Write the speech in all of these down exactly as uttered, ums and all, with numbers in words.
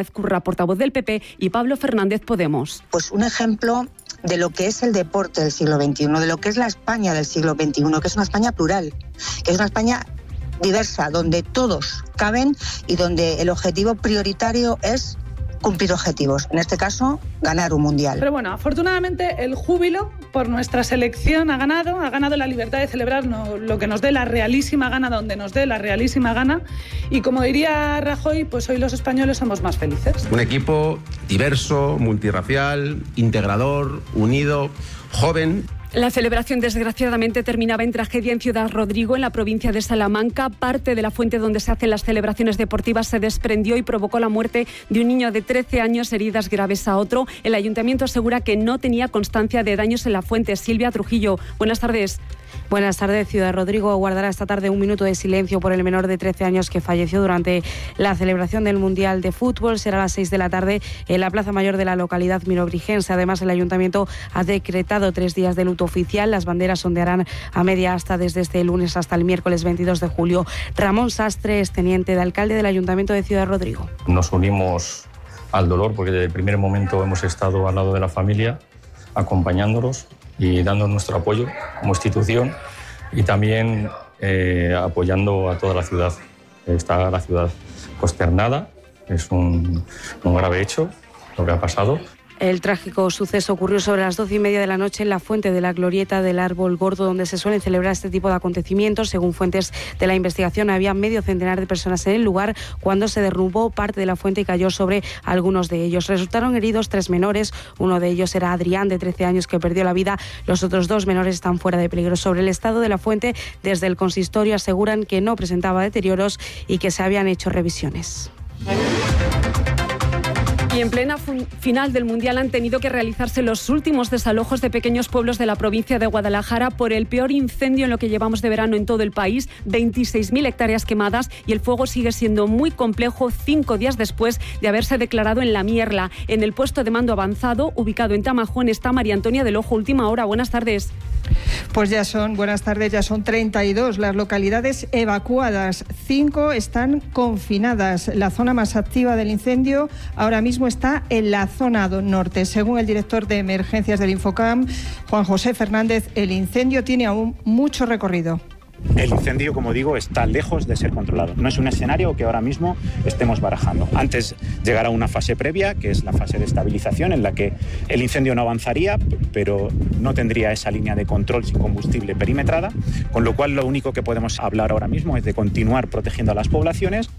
Curra, portavoz del P P, y Pablo Fernández, Podemos. Pues un ejemplo de lo que es el deporte del siglo veintiuno, de lo que es la España del siglo veintiuno, que es una España plural, que es una España diversa, donde todos caben y donde el objetivo prioritario es cumplir objetivos, en este caso, ganar un mundial. Pero bueno, afortunadamente el júbilo por nuestra selección ha ganado, ha ganado la libertad de celebrar lo que nos dé la realísima gana, donde nos dé la realísima gana, y como diría Rajoy, pues hoy los españoles somos más felices. Un equipo diverso, multirracial, integrador, unido, joven. La celebración, desgraciadamente, terminaba en tragedia en Ciudad Rodrigo, en la provincia de Salamanca. Parte de la fuente donde se hacen las celebraciones deportivas se desprendió y provocó la muerte de un niño de trece años, heridas graves a otro. El ayuntamiento asegura que no tenía constancia de daños en la fuente. Silvia Trujillo, buenas tardes. Buenas tardes. Ciudad Rodrigo guardará esta tarde un minuto de silencio por el menor de trece años que falleció durante la celebración del Mundial de Fútbol. Será a las seis de la tarde en la Plaza Mayor de la localidad mirobrigense. Además, el ayuntamiento ha decretado tres días de luto oficial. Las banderas ondearán a media asta desde este lunes hasta el miércoles veintidós de julio. Ramón Sastre es teniente de alcalde del Ayuntamiento de Ciudad Rodrigo. Nos unimos al dolor porque desde el primer momento hemos estado al lado de la familia, acompañándolos y dando nuestro apoyo como institución y también eh, apoyando a toda la ciudad. Está la ciudad consternada, es un, un grave hecho lo que ha pasado. El trágico suceso ocurrió sobre las doce y media de la noche en la fuente de la glorieta del Árbol Gordo, donde se suelen celebrar este tipo de acontecimientos. Según fuentes de la investigación, había medio centenar de personas en el lugar cuando se derrumbó parte de la fuente y cayó sobre algunos de ellos. Resultaron heridos tres menores. Uno de ellos era Adrián, de trece años, que perdió la vida. Los otros dos menores están fuera de peligro. Sobre el estado de la fuente, desde el consistorio aseguran que no presentaba deterioros y que se habían hecho revisiones. Y en plena final del Mundial han tenido que realizarse los últimos desalojos de pequeños pueblos de la provincia de Guadalajara por el peor incendio en lo que llevamos de verano en todo el país, veintiséis mil hectáreas quemadas, y el fuego sigue siendo muy complejo cinco días después de haberse declarado en La Mierla. En el puesto de mando avanzado, ubicado en Tamajón, está María Antonia del Ojo. Última hora, buenas tardes. Pues ya son, buenas tardes, ya son treinta y dos las localidades evacuadas, cinco están confinadas. La zona más activa del incendio ahora mismo está en la zona norte. Según el director de emergencias del Infocam, Juan José Fernández, el incendio tiene aún mucho recorrido. El incendio, como digo, está lejos de ser controlado. No es un escenario que ahora mismo estemos barajando. Antes llegará una fase previa, que es la fase de estabilización, en la que el incendio no avanzaría, pero no tendría esa línea de control sin combustible perimetrada, con lo cual lo único que podemos hablar ahora mismo es de continuar protegiendo a las poblaciones.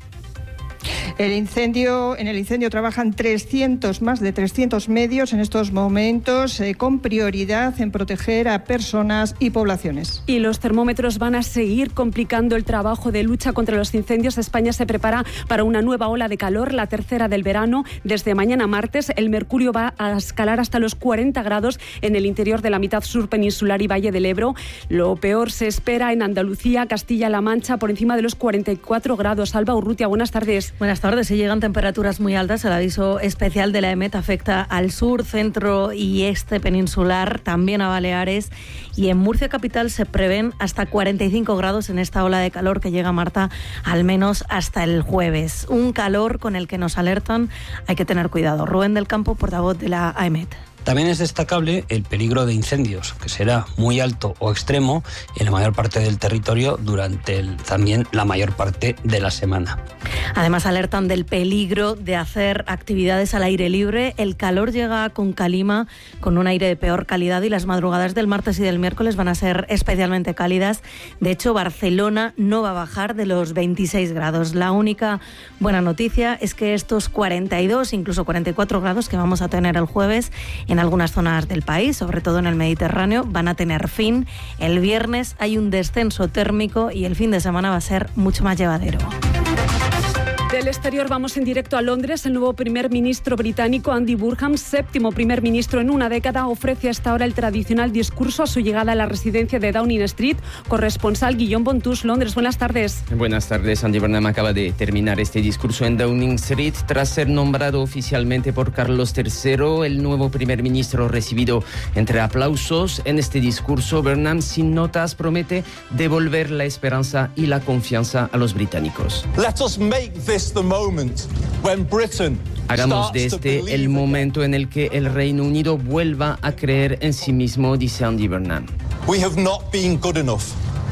El incendio, en el incendio trabajan trescientos, más de trescientos medios en estos momentos, eh, con prioridad en proteger a personas y poblaciones. Y los termómetros van a seguir complicando el trabajo de lucha contra los incendios. España se prepara para una nueva ola de calor, la tercera del verano. Desde mañana martes el mercurio va a escalar hasta los cuarenta grados en el interior de la mitad sur peninsular y Valle del Ebro. Lo peor se espera en Andalucía, Castilla-La Mancha, por encima de los cuarenta y cuatro grados. Alba Urrutia, buenas tardes. Buenas tardes. Se llegan temperaturas muy altas. El aviso especial de la EMET afecta al sur, centro y este peninsular, también a Baleares, y en Murcia capital se prevén hasta cuarenta y cinco grados en esta ola de calor que llega, Marta, al menos hasta el jueves. Un calor con el que nos alertan, hay que tener cuidado. Rubén del Campo, portavoz de la AEMET. También es destacable el peligro de incendios, que será muy alto o extremo en la mayor parte del territorio durante el, también la mayor parte de la semana. Además, alertan del peligro de hacer actividades al aire libre. El calor llega con calima, con un aire de peor calidad, y las madrugadas del martes y del miércoles van a ser especialmente cálidas. De hecho, Barcelona no va a bajar de los veintiséis grados. La única buena noticia es que estos cuarenta y dos, incluso cuarenta y cuatro grados que vamos a tener el jueves en algunas zonas del país, sobre todo en el Mediterráneo, van a tener fin. El viernes hay un descenso térmico y el fin de semana va a ser mucho más llevadero. Del exterior vamos en directo a Londres. El nuevo primer ministro británico, Andy Burnham, séptimo primer ministro en una década, ofrece hasta ahora el tradicional discurso a su llegada a la residencia de Downing Street. Corresponsal Guillaume Bontus, Londres. Buenas tardes. Buenas tardes. Andy Burnham acaba de terminar este discurso en Downing Street tras ser nombrado oficialmente por Carlos tercero. El nuevo primer ministro recibido entre aplausos. En este discurso, Burnham, sin notas, promete devolver la esperanza y la confianza a los británicos. Let us make this the moment when Britain Hagamos de este el momento en el que el Reino Unido vuelva a creer en sí mismo, dice Andy Burnham. We have not been good enough.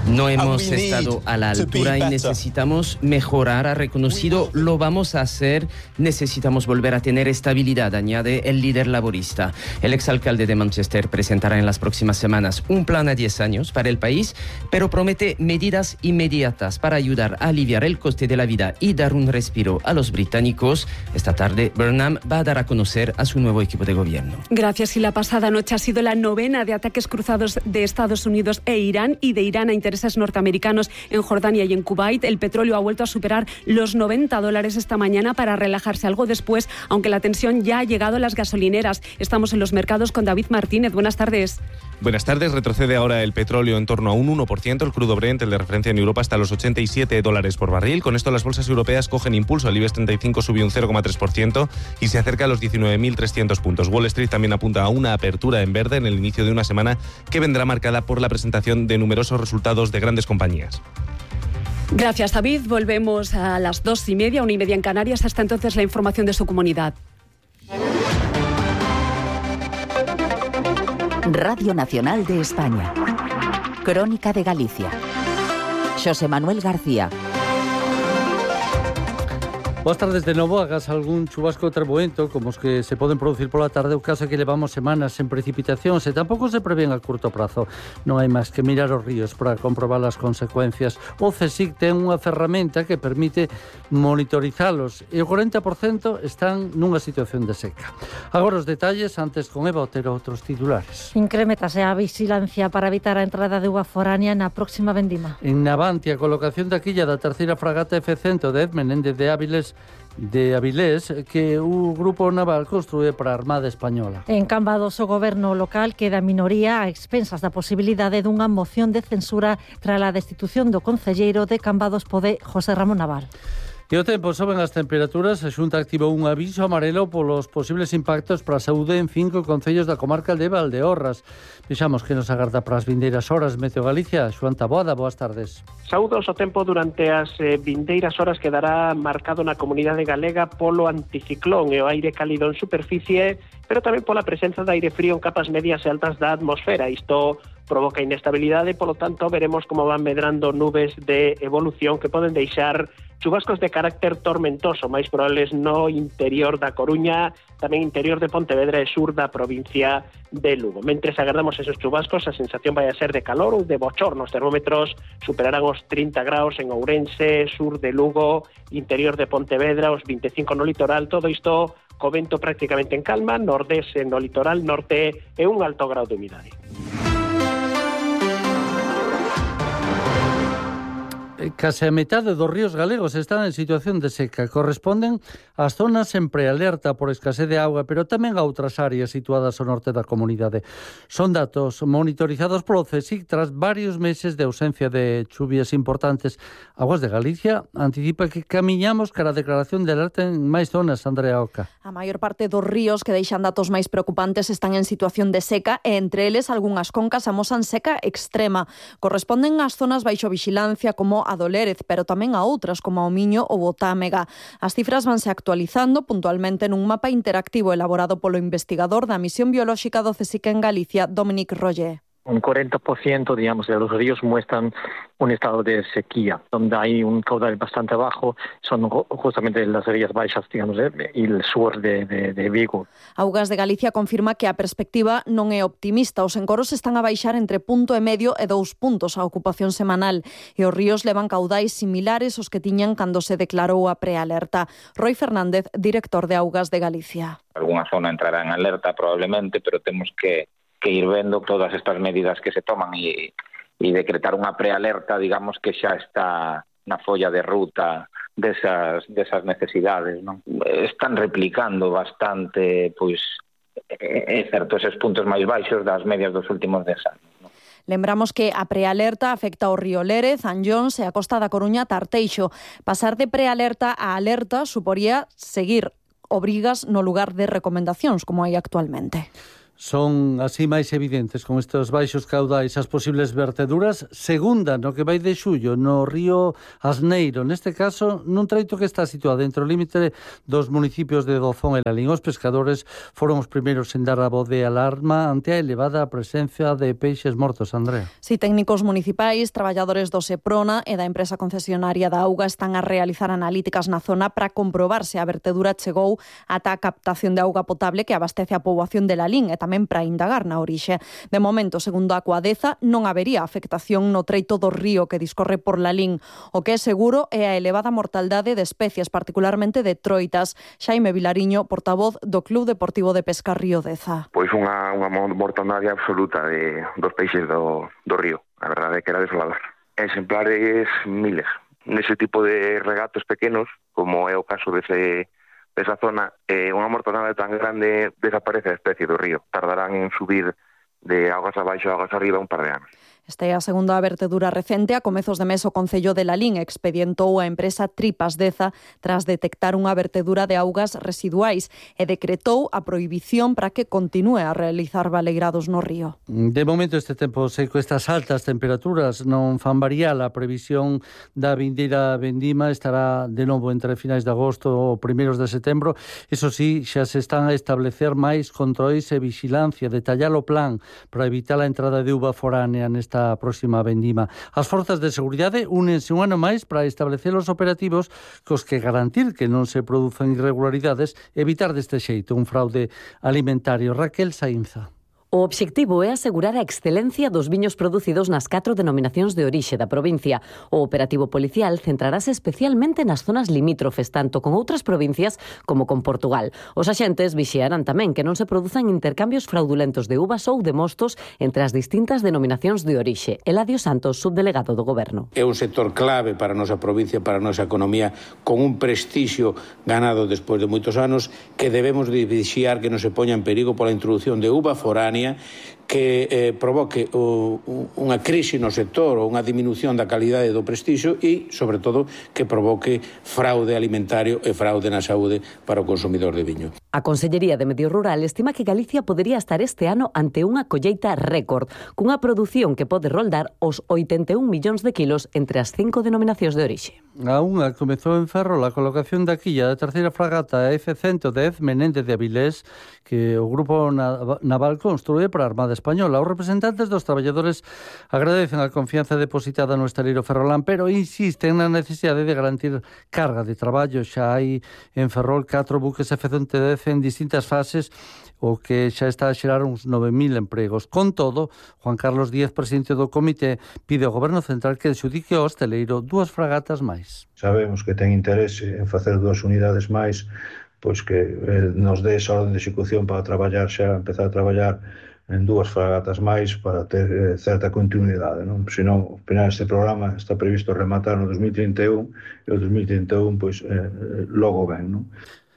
No hemos estado a la altura y necesitamos mejorar, ha reconocido, lo vamos a hacer, necesitamos volver a tener estabilidad, añade el líder laborista. El exalcalde de Manchester presentará en las próximas semanas un plan a diez años para el país, pero promete medidas inmediatas para ayudar a aliviar el coste de la vida y dar un respiro a los británicos. Esta tarde, Burnham va a dar a conocer a su nuevo equipo de gobierno. Gracias. Y la pasada noche ha sido la novena de ataques cruzados de Estados Unidos e Irán y de Irán a intereses norteamericanos en Jordania y en Kuwait. El petróleo ha vuelto a superar los noventa dólares esta mañana para relajarse algo después, aunque la tensión ya ha llegado a las gasolineras. Estamos en los mercados con David Martínez. Buenas tardes. Buenas tardes. Retrocede ahora el petróleo en torno a un uno por ciento. El crudo Brent, el de referencia en Europa, hasta los ochenta y siete dólares por barril. Con esto las bolsas europeas cogen impulso. El IBEX treinta y cinco subió un cero coma tres por ciento y se acerca a los diecinueve mil trescientos puntos. Wall Street también apunta a una apertura en verde en el inicio de una semana que vendrá marcada por la presentación de numerosos resultados de grandes compañías. Gracias, David. Volvemos a las dos y media, una y media en Canarias. Hasta entonces la información de su comunidad. Radio Nacional de España. Crónica de Galicia. Xosé Manuel García. Boas tardes de novo. Hagas algún chubasco treboento como os que se poden producir pola tarde, o caso é que levamos semanas sen precipitacións e tampouco se prevén a curto prazo. Non hai máis que mirar os ríos para comprobar as consecuencias. O CSIC ten unha ferramenta que permite monitorizalos e o corenta por cento están nunha situación de seca. Agora os detalles, antes con Eva Otero, outros titulares. Incrementase a vigilancia para evitar a entrada de uva foránea na próxima vendima. En Navantia, a colocación da quilla da terceira fragata F cen de Edmenende de Áviles de Avilés que o Grupo Naval construe para a Armada Española. En Cambados, o goberno local queda minoría a expensas da posibilidade dunha moción de censura tras a destitución do concelleiro de Cambados Pode, José Ramón Naval. E o tempo, soben as temperaturas. A Xunta activou un aviso amarelo polos posibles impactos para a saúde en cinco concellos da comarca de Valdeorras. Vexamos que nos agarda para as vindeiras horas. Meteo Galicia, Xoán Taboada, boas tardes. Saúdos, o tempo durante as eh, vindeiras horas quedará marcado na comunidade galega polo anticiclón e o aire cálido en superficie, pero tamén pola presenza de aire frío en capas medias e altas da atmosfera. Isto provoca inestabilidade, polo tanto veremos como van medrando nubes de evolución que poden deixar chubascos de carácter tormentoso, máis probables no interior da Coruña, tamén interior de Pontevedra e sur da provincia de Lugo. Mentres agardamos esos chubascos, a sensación vai a ser de calor ou de bochorno. Os termómetros superarán os trinta graus en Ourense, sur de Lugo, interior de Pontevedra, os vinte e cinco no litoral. Todo isto co vento prácticamente en calma, nordés no litoral norte e un alto grau de humidade. Case a metade dos ríos galegos están en situación de seca. Corresponden ás zonas en prealerta por escasez de auga, pero tamén a outras áreas situadas ao norte da comunidade. Son datos monitorizados polo CSIC tras varios meses de ausencia de chuvias importantes. Aguas de Galicia anticipa que camiñamos cara a declaración de alerta en máis zonas, Andrea Oca. A maior parte dos ríos que deixan datos máis preocupantes están en situación de seca e entre eles algunhas concas amosan seca extrema. Corresponden ás zonas baixo vixilancia como a do Lérez, pero tamén a outras como o Miño ou o Támega. As cifras vanse actualizando puntualmente nun mapa interactivo elaborado polo investigador da Misión Biolóxica do CSIC en Galicia, Dominic Roger. Un cuarenta por ciento, digamos, de los ríos muestran un estado de sequía, donde hay un caudal bastante bajo, son justamente las rías baixas, digamos, y el sur de, de, de Vigo. Augas de Galicia confirma que a perspectiva non é optimista. Os encoros están a baixar entre punto e medio e dous puntos a ocupación semanal, e os ríos levan caudais similares aos que tiñan cando se declarou a prealerta. Roy Fernández, director de Augas de Galicia. Alguna zona entrará en alerta probablemente, pero temos que que ir vendo todas estas medidas que se toman e, e decretar unha prealerta, digamos, que xa está na folla de ruta desas, desas necesidades, non? Están replicando bastante, pois, é certo, eses puntos máis baixos das medias dos últimos dez anos, non? Lembramos que a prealerta afecta ao río Lérez, Anllóns e a Costa da Coruña, Tarteixo. Pasar de prealerta a alerta suporía seguir obrigas no lugar de recomendacións como hai actualmente. Son así máis evidentes con estes baixos caudais as posibles verteduras. Segunda, no que vai de xullo, no río Asneiro, neste caso nun treito que está situado dentro do límite dos municipios de Dozón e Lalín. Os pescadores foron os primeiros en dar a voz de alarma ante a elevada presencia de peixes mortos, Andrea. Si técnicos municipais, traballadores do Seprona e da empresa concesionaria da auga están a realizar analíticas na zona para comprobar se a vertedura chegou ata a captación de auga potable que abastece a poboación de Lalín e tamén para indagar na orixe. De momento, segundo a Coadeza, non habería afectación no treito do río que discorre por Lalín. O que é seguro é a elevada mortaldade de especies, particularmente de troitas. Xaime Vilariño, portavoz do Club Deportivo de Pesca Río Deza. Pois unha, unha mortandade absoluta de, dos peixes do, do río. A verdade é que era desolador. Exemplares miles. Nese tipo de regatos pequenos, como é o caso dese desa zona, eh, unha mortandade tan grande desaparece a especie do río. Tardarán en subir de augas abaixo a augas arriba un par de anos. Esta é a segunda vertedura recente. A comezos de mes o Concello de Lalín expedientou a empresa Tripas Deza tras detectar unha vertedura de augas residuais e decretou a prohibición para que continúe a realizar baleirados no río. De momento este tempo seco, estas altas temperaturas non fan variar a previsión da vindeira vendima. Estará de novo entre finais de agosto ou primeiros de setembro. Iso sí, xa se están a establecer máis controis e vigilancia, detallar o plan para evitar a entrada de uva foránea nesta a próxima vendima. As forzas de seguridade únense un ano máis para establecer os operativos cos que garantir que non se produzan irregularidades e evitar deste xeito un fraude alimentario. Raquel Sainza. O obxectivo é asegurar a excelencia dos viños producidos nas catro denominacións de orixe da provincia. O operativo policial centrarase especialmente nas zonas limítrofes, tanto con outras provincias como con Portugal. Os axentes vixiarán tamén que non se produzan intercambios fraudulentos de uvas ou de mostos entre as distintas denominacións de orixe. Eladio Santos, subdelegado do Goberno. É un sector clave para a nosa provincia, para a nosa economía, con un prestixio ganado despois de moitos anos, que debemos de vixiar que non se poña en perigo pola introducción de uva foránea que eh, provoque o, unha crise no sector ou unha diminución da calidade do prestixio e, sobre todo, que provoque fraude alimentario e fraude na saúde para o consumidor de viño. A Consellería de Medio Rural estima que Galicia podería estar este ano ante unha colleita récord, cunha produción que pode roldar os oitenta e un millóns de kilos entre as cinco denominacións de orixe. A unha comezou en Ferrol a colocación da quilla da terceira fragata F ciento dez Menéndez de Avilés, que o Grupo Naval construe para a Armada Española. Os representantes dos traballadores agradecen a confianza depositada no estaleiro ferrolán, pero insisten na necesidade de garantir carga de traballo. Xa hai en Ferrol catro buques F ciento dez en distintas fases, o que xa está a xerar uns nove mil empregos. Con todo, Juan Carlos Díaz, presidente do comité, pide ao Goberno Central que adxudique ao hosteleiro dúas fragatas máis. Sabemos que ten interese en facer dúas unidades máis, pois que eh, nos dé esa orden de execución para traballar xa, empezar a traballar en dúas fragatas máis para ter eh, certa continuidade, non? Senón, ao final este programa está previsto rematar no dos mil trinta e un e o dos mil trinta e un pois eh, logo ben, non?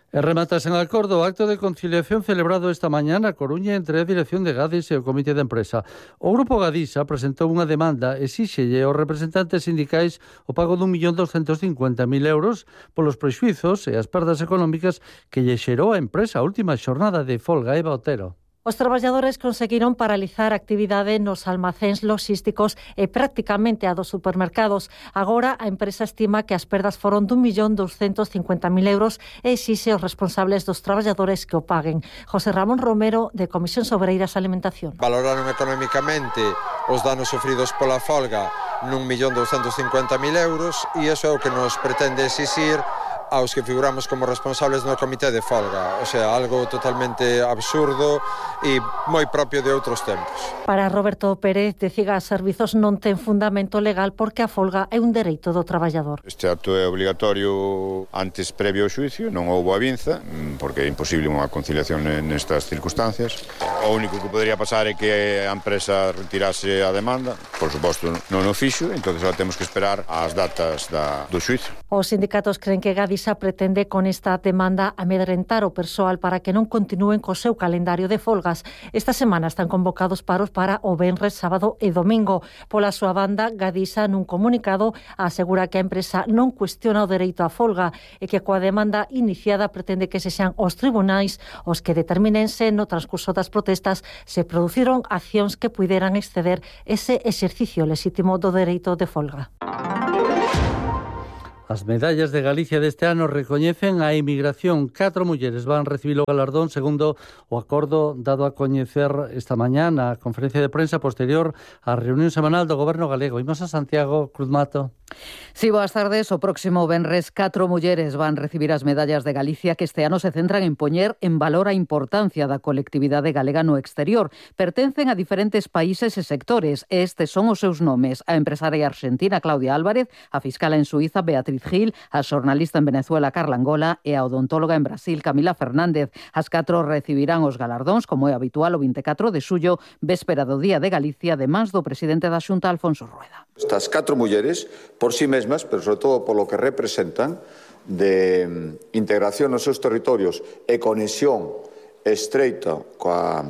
E rematas en acordo o acto de conciliación celebrado esta mañá na Coruña entre a dirección de Gadis e o comité de empresa. O grupo Gadisa presentou unha demanda e exíxelle aos representantes sindicais o pago dun millón douscentos cincuenta mil euros polos prexuizos e as perdas económicas que lle xerou a empresa a última xornada de folga. Eva Otero. Os traballadores conseguiron paralizar a actividade nos almacéns logísticos e prácticamente a dos supermercados. Agora a empresa estima que as perdas foron dun millón douscentos cincuenta mil euros e exixe aos responsables dos traballadores que o paguen. José Ramón Romero, de Comisión Obreiras Alimentación. Valoraron económicamente os danos sofridos pola folga nun millón douscentos cincuenta mil euros e iso é o que nos pretende exixir aos que figuramos como responsables no comité de folga. O sea, algo totalmente absurdo e moi propio de outros tempos. Para Roberto Pérez, de Cigas Servizos non ten fundamento legal porque a folga é un dereito do traballador. Este acto é obligatorio antes previo ao xuicio, non houbo avinza, porque é imposible unha conciliación nestas circunstancias. O único que podría pasar é que a empresa retirase a demanda, por suposto non o fixo, entón agora temos que esperar as datas da, do xuicio. Os sindicatos creen que Gadis Galiza pretende con esta demanda amedrentar o persoal para que non continúen co seu calendario de folgas. Esta semana están convocados paros para o venres, sábado e domingo. Pola súa banda, Gadisa nun comunicado asegura que a empresa non cuestiona o dereito á folga e que coa demanda iniciada pretende que se sean os tribunais os que determinen se no transcurso das protestas se produciron accións que puideran exceder ese exercicio lexítimo do dereito de folga. As medallas de Galicia deste ano recoñecen a emigración. Catro mulleres van recibir o galardón segundo o acordo dado a coñecer esta mañá na conferencia de prensa posterior á reunión semanal do Goberno galego. Imos a Santiago Cruz Mato. Sí, boas tardes. O próximo venres, catro mulleres van recibir as medallas de Galicia que este ano se centran en poñer en valor a importancia da colectividade galega no exterior. Pertencen a diferentes países e sectores. Estes son os seus nomes. A empresaria argentina Claudia Álvarez, a fiscala en Suiza Beatriz Gil, a xornalista en Venezuela Carla Angola e a odontóloga en Brasil Camila Fernández. As catro recibirán os galardóns, como é habitual, o vinte e catro de xullo, véspera do Día de Galicia, de mans do presidente da Xunta, Alfonso Rueda. Estas catro mulleres, por sí mesmas, pero sobre todo por lo que representan de integración nos seus territorios e conexión estreita coa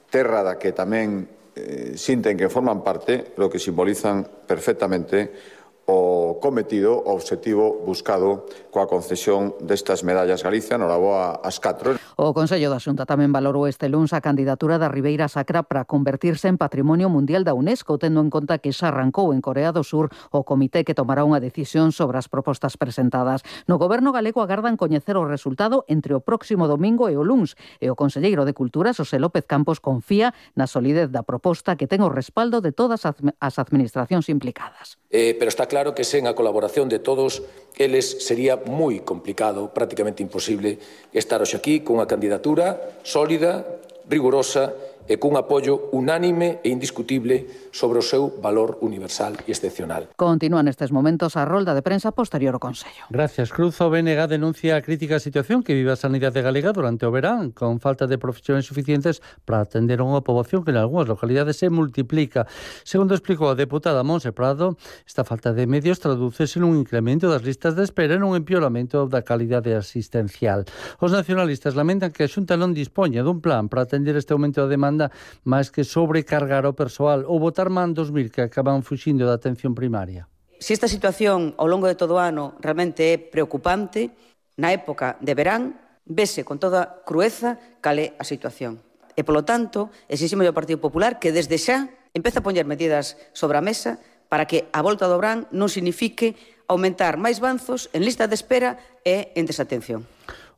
terra da que tamén eh, sinten que forman parte, lo que simbolizan perfectamente o cometido, o obxectivo buscado coa concesión destas medallas Galicia, no boa as catro. O Consello da Xunta tamén valorou este luns a candidatura da Ribeira Sacra para convertirse en Patrimonio Mundial da UNESCO, tendo en conta que xa arrancou en Corea do Sur o comité que tomará unha decisión sobre as propostas presentadas. No Goberno galego agardan coñecer o resultado entre o próximo domingo e o luns, e o conselleiro de Cultura, Xosé López Campos, confía na solidez da proposta que ten o respaldo de todas as administracións implicadas. Eh, pero está claro que sen a colaboración de todos eles sería moi complicado, prácticamente imposible, estar hoxe aquí cunha candidatura sólida, rigurosa e cun apoio unánime e indiscutible sobre o seu valor universal e excepcional. Continúa nestes momentos a rolda de prensa posterior ao Consello. Gracias, Cruz. O B N G denuncia a crítica situación que vive a sanidade galega durante o verán, con falta de profesionais suficientes para atender a unha poboación que en algunhas localidades se multiplica. Segundo explicou a deputada Monse Prado, esta falta de medios tradúcese nun incremento das listas de espera e nun empeoramento da calidade asistencial. Os nacionalistas lamentan que a Xunta non dispoña dun plan para atender este aumento da demanda máis que sobrecargar o persoal ou botar man dos mil que acaban fuxindo da atención primaria. Se esta situación ao longo de todo o ano realmente é preocupante, na época de verán vese con toda crueza cal é a situación. E, polo tanto, exiximos ao Partido Popular que desde xa empece a poñer medidas sobre a mesa para que a volta do verán non signifique aumentar máis banzos en lista de espera e en desatención.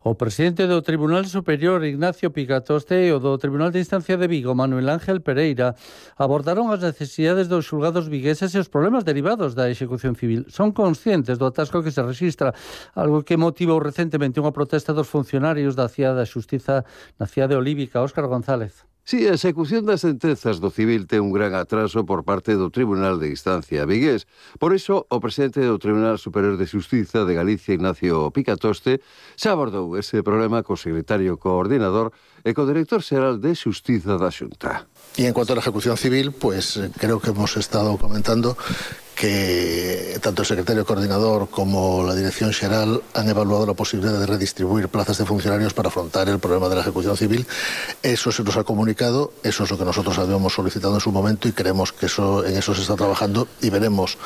O presidente do Tribunal Superior, Ignacio Picatoste, e o do Tribunal de Instancia de Vigo, Manuel Ángel Pereira, abordaron as necesidades dos xulgados vigueses e os problemas derivados da execución civil. Son conscientes do atasco que se rexistra, algo que motivou recentemente unha protesta dos funcionarios da Cia da Xustiza na Cia de Olívica. Óscar González. Si, a execución das sentenzas do civil ten un gran atraso por parte do Tribunal de Instancia vigués. Por iso, o presidente do Tribunal Superior de Xustiza de Galicia, Ignacio Picatoste, xa abordou ese problema co secretario coordinador e co director xeral de Xustiza da Xunta. Y en cuanto a la ejecución civil, pues creo que hemos estado comentando que tanto el secretario coordinador como la dirección xeral han evaluado la posibilidad de redistribuir plazas de funcionarios para afrontar el problema de la ejecución civil. Eso se nos ha comunicado, eso es lo que nosotros habíamos solicitado en su momento y creemos que eso, en eso se está trabajando y veremos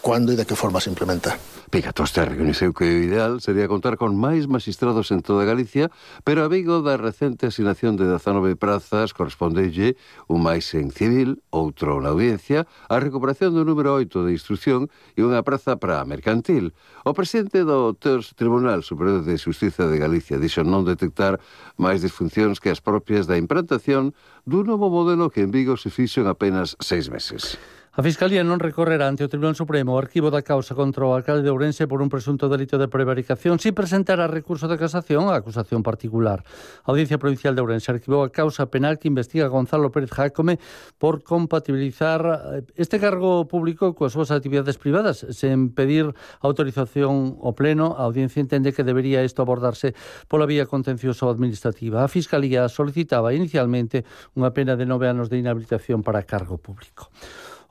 cuándo y de qué forma se implementa. Picatoste recoñeceu que o ideal sería contar con máis magistrados en toda Galicia, pero a Vigo da recente asignación de dezanove prazas correspondelle un máis en civil, outro na audiencia, a recuperación do número oito de instrucción e unha praza para mercantil. O presidente do Tribunal Superior de Xustiza de Galicia dixo non detectar máis disfuncións que as propias da implantación dun novo modelo que en Vigo se fixo en apenas seis meses. A Fiscalía non recorrerá ante o Tribunal Supremo o arquivo da causa contra o alcalde de Ourense por un presunto delito de prevaricación sin presentar a recurso de casación a acusación particular. A Audiencia Provincial de Ourense arquivou a causa penal que investiga a Gonzalo Pérez Jácome por compatibilizar este cargo público coas súas actividades privadas sen pedir autorización ao Pleno. A Audiencia entende que debería isto abordarse pola vía contencioso administrativa. A Fiscalía solicitaba inicialmente unha pena de nove anos de inhabilitación para cargo público.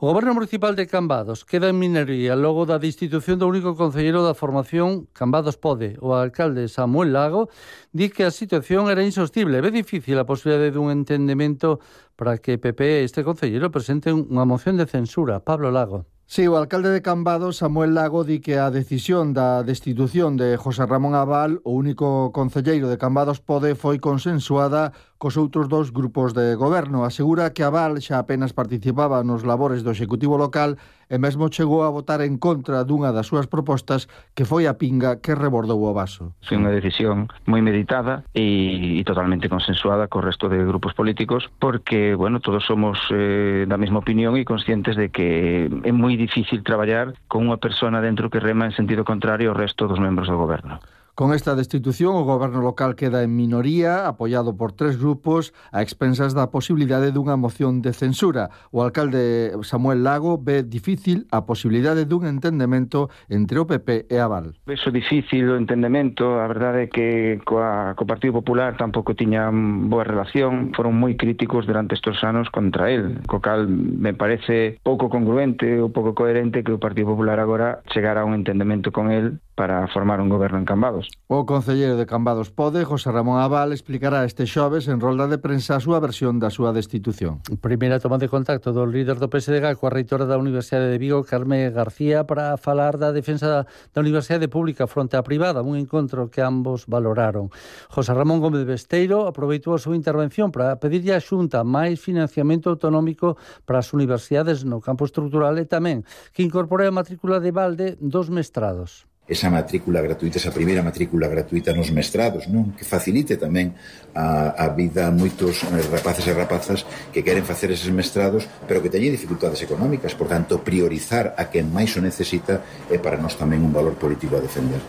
O Goberno Municipal de Cambados queda en minoría logo da destitución do único concelleiro da formación Cambados Pode. O alcalde Samuel Lago di que a situación era insostible. Ve difícil a posibilidade dun entendemento para que P P e este concelleiro presenten unha moción de censura. Pablo Lago. Sí, o alcalde de Cambados, Samuel Lago, di que a decisión da destitución de José Ramón Abal, o único concelleiro de Cambados Pode, foi consensuada cos outros dous grupos de goberno. Asegura que Abal xa apenas participaba nos labores do Executivo local e mesmo chegou a votar en contra dunha das súas propostas, que foi a pinga que rebordou o vaso. Foi unha decisión moi meditada e, e totalmente consensuada co resto de grupos políticos, porque, bueno, todos somos eh, da mesma opinión e conscientes de que é moi difícil traballar con unha persona dentro que rema en sentido contrario ao resto dos membros do goberno. Con esta destitución, o goberno local queda en minoría, apoiado por tres grupos, a expensas da posibilidade dunha moción de censura. O alcalde Samuel Lago ve difícil a posibilidade dun entendemento entre o P P e Abal. Veso difícil o entendemento, a verdade é que coa, co Partido Popular tampouco tiñan boa relación, foron moi críticos durante estes anos contra el, co cal me parece pouco congruente ou pouco coherente que o Partido Popular agora chegara a un entendemento con el para formar un goberno en Cambados. O concelleiro de Cambados Pode, José Ramón Abal, explicará este xoves en rolda de prensa a súa versión da súa destitución. Primeira toma de contacto do líder do P S D G coa reitora da Universidade de Vigo, Carme García, para falar da defensa da Universidade Pública fronte á privada, un encontro que ambos valoraron. José Ramón Gómez Besteiro aproveitou a súa intervención para pedirlle á Xunta máis financiamento autonómico para as universidades no campo estrutural e tamén que incorpore a matrícula de balde dos mestrados. Esa matrícula gratuita, esa primeira matrícula gratuita nos mestrados, non? Que facilite tamén a, a vida a moitos rapaces e rapazas que queren facer eses mestrados, pero que teñen dificultades económicas. Por tanto, priorizar a quen máis o necesita é para nós tamén un valor político a defender.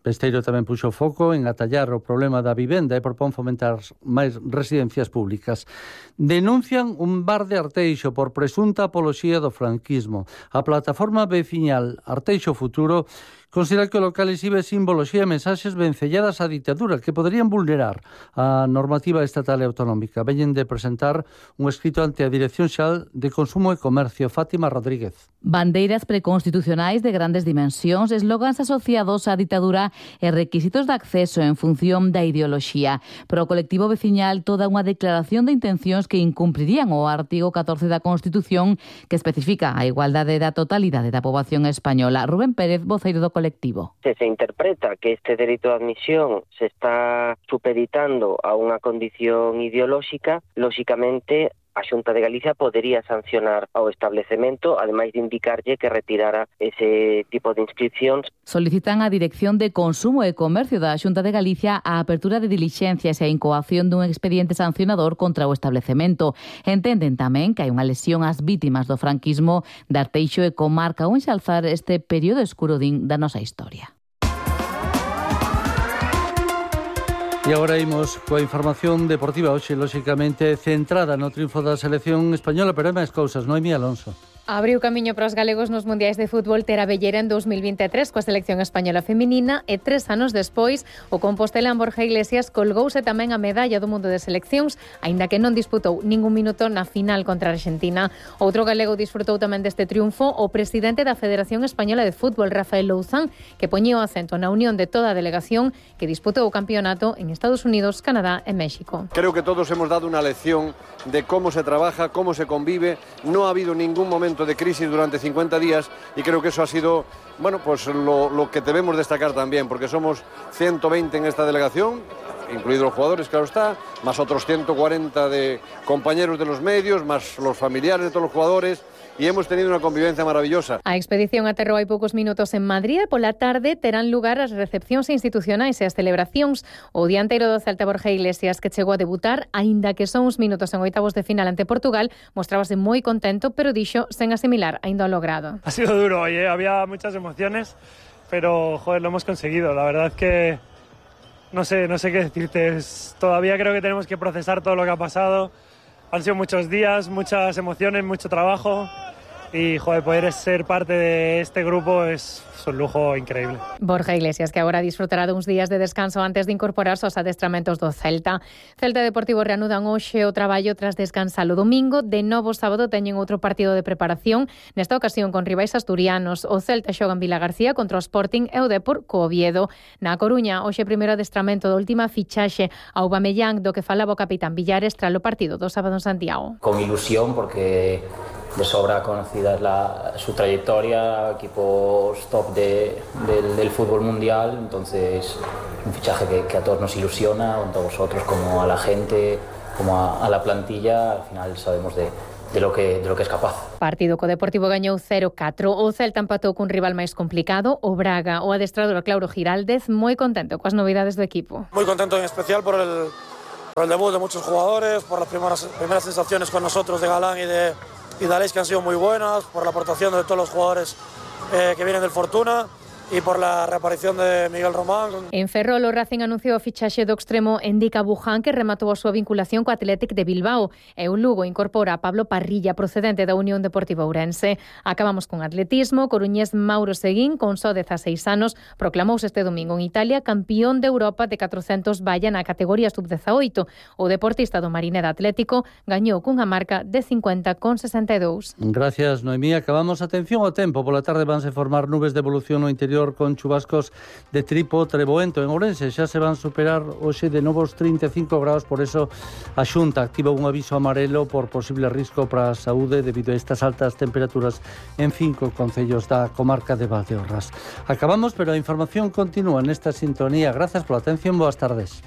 Besteiro tamén puxo foco en atallar o problema da vivenda e propón fomentar máis residencias públicas. Denuncian un bar de Arteixo por presunta apoloxía do franquismo. A plataforma veciñal Arteixo Futuro considera que o local exhibe simboloxía e mensaxes vencelladas á ditadura que poderían vulnerar a normativa estatal e autonómica. Veñen de presentar un escrito ante a Dirección Xeral de Consumo e Comercio. Fátima Rodríguez. Bandeiras preconstitucionais de grandes dimensións, eslogans asociados á ditadura e requisitos de acceso en función da ideoloxía. Pro colectivo veciñal, toda unha declaración de intencións que incumprirían o artigo catorce da Constitución que especifica a igualdade da totalidade da poboación española. Rubén Pérez, voceiro do colectivo. Se se interpreta que este dereito de admisión se está supeditando a unha condición ideolóxica, lóxicamente a Xunta de Galicia podería sancionar ao establecemento, ademais de indicarlle que retirara ese tipo de inscripcións. Solicitan á Dirección de Consumo e Comercio da Xunta de Galicia a apertura de dilixencias e a incoación dun expediente sancionador contra o establecemento. Entenden tamén que hai unha lesión ás vítimas do franquismo de Arteixo e comarca ao enxalzar este período escuro din da nosa historia. E agora imos coa información deportiva hoxe, lóxicamente, centrada no triunfo da selección española, pero hai máis cousas, Noemí Alonso. Abriu camiño para os galegos nos mundiais de fútbol Ter Abellera en dos mil vinte e tres coa selección española feminina e tres anos despois o compostelán Borja Iglesias colgouse tamén a medalla do mundo de seleccións, aínda que non disputou ningún minuto na final contra a Argentina. Outro galego disfrutou tamén deste triunfo, o presidente da Federación Española de Fútbol, Rafael Louzán, que poñía o acento na unión de toda a delegación que disputou o campeonato en Estados Unidos, Canadá e México. Creo que todos hemos dado una lección de cómo se trabaja, cómo se convive. No ha habido ningún momento de crisis durante cincuenta días y creo que eso ha sido, bueno, pues lo, lo que debemos destacar también, porque somos ciento veinte en esta delegación, incluidos los jugadores, claro está, más otros ciento cuarenta de compañeros de los medios, más los familiares de todos los jugadores, e hemos tenido unha convivencia maravillosa. A expedición aterrou hai poucos minutos en Madrid e pola tarde terán lugar as recepcións institucionais e as celebracións. O dianteiro do Celta, Borja Iglesias, que chegou a debutar, aínda que son uns minutos en oitavos de final ante Portugal, mostrábase moi contento, pero dixo sen asimilar aínda o logrado. Ha sido duro hoy, ¿eh? Había muchas emociones, pero joder, lo hemos conseguido. La verdad que no sé, no sé qué decirte. Es, todavía creo que tenemos que procesar todo lo que ha pasado. Han sido muchos días, muchas emociones, mucho trabajo y joder, poder ser parte de este grupo es un lujo increíble. Borja Iglesias, que agora disfrutará duns días de descanso antes de incorporarse aos adestramentos do Celta. Celta e Deportivo reanudan hoxe o traballo tras descansar o domingo. De novo sábado teñen outro partido de preparación, nesta ocasión con rivais asturianos. O Celta xoga en Vila García contra o Sporting e o Depor co Oviedo. Na Coruña, hoxe primeiro adestramento da última fichaxe ao Aubameyang, do que falaba o capitán Villares tras o partido do sábado en Santiago. Con ilusión, porque de sobra conocida es la, su trayectoria, equipos top de, del, del fútbol mundial, entonces un fichaje que, que a todos nos ilusiona, tanto a vosotros como a la gente, como a, a la plantilla. Al final sabemos de, de, lo que, de lo que es capaz. Partido co Deportivo gañou cero catro. O Celta empatou cun rival máis complicado, o Braga. O adestrador Claudio Giraldez moi contento coas novidades do equipo. Muy contento en especial por el, por el debut de muchos jugadores, por las primeras, primeras sensaciones con nosotros de Galán y de y de Aleix, que han sido muy buenas, por la aportación de todos los jugadores eh, que vienen del Fortuna e por la reaparición de Miguel Román. En Ferrol, o Racing anunciou a fichaxe do extremo Endika Buján, que rematou a súa vinculación co Athletic de Bilbao. E o Lugo incorpora a Pablo Parrilla, procedente da Unión Deportiva Ourense. Acabamos con atletismo. Coruñés Mauro Seguín, con só dezaseis anos, proclamouse este domingo en Italia campeón de Europa de catrocentos valla na categoría sub dezaoito. O deportista do Marineda Atlético gañou cunha marca de cincuenta con sesenta e dous. Gracias, Noemí. Acabamos. Atención ao tempo. Pola tarde vanse formar nubes de evolución no interior con chubascos de tripo treboento. En Ourense xa se van superar hoxe de novos trinta e cinco graus, por eso a Xunta activa un aviso amarelo por posible risco para a saúde debido a estas altas temperaturas en cinco concellos da comarca de Valdeorras. Acabamos, pero a información continúa nesta sintonía. Gracias pola atención, boas tardes.